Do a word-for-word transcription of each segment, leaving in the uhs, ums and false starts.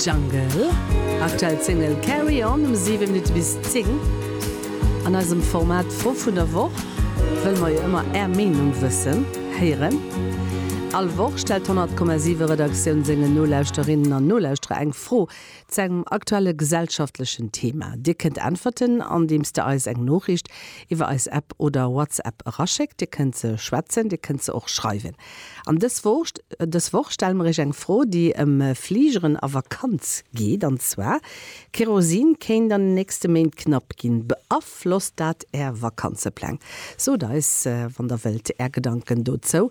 Jungle, aktuell Single Carry On um siwe Minutte bis zéng. An eisem Format Fro vun der Woch wëlle mer jo ëmmer Är Meenung wëssen, héieren. All Woch stellt d'honnert Komma siwe Redaktioun sengen Nolauschterinnen an Nolauschterer eng Fro zu engem aktuelle gesellschaftlechen Thema. Dir kënnt äntwerten, andeems der eis eng Noriicht iwwer eis App oder WhatsApp eraschéckt. Dir kënnt se schwätzen, dir kënnt se och schreiwen. An dës Woch, dës Woch stelle mer iech eng Fro, déi ëm Fligeren a Vakanz geet, an zwar, Kerosin kéint an den nächste Méint knapp ginn. Beaflosst dat Är Vakanzepläng? Sot eis, wann der wëllt, Är Gedanken dozou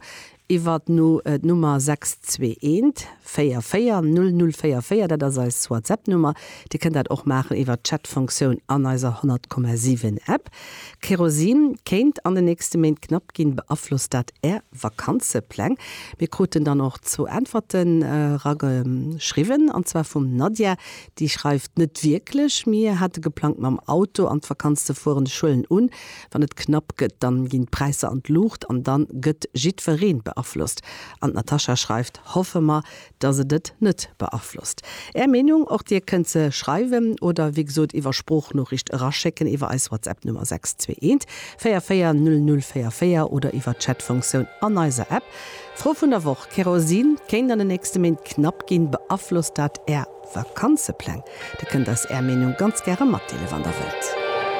iwwer d'Nummer sechs zwee eent véier véier null null véier véier, dat ass eis WhatsApp-Nummer. Dir kënnt dat och maachen iwwer d'Chat-Funktioun an eiser honnert Komma siwen App. Kerosin kéint an den nächste Méint knapp ginn, beaflosst dat Är Vakanzepläng? Mir kruten dann och zwou Äntwerten erageschriwwen, an zwar vum Nadja, déi schreift, Net wierklech, mir hate geplangt mam Auto an d'Vakanz ze fueren, ech huelen un, wann et knapp gëtt, dann ginn d'Präisser an d'Luucht an dann gëtt jiddwereen beaflosst. An d'Natascha schreift, Hoffe mer, dass et et net beaflosst. Är Meenung, och Dir kënnt se schreiwen oder wéi gesot iwwer Sproochnoriicht eraschécken iwwer eis WhatsApp-Nummer sechs zwee eent véier véier null null véier véier oder iwwer d'Chat-Funktioun an eiser App. Fro vun der Woch, Kerosin kéint an den nächste Méint knapp ginn, beaflosst dat Är Vakanzepläng? Dir kënnt eis Är Meenung ganz gäre matdeelen, wann Der wëllt.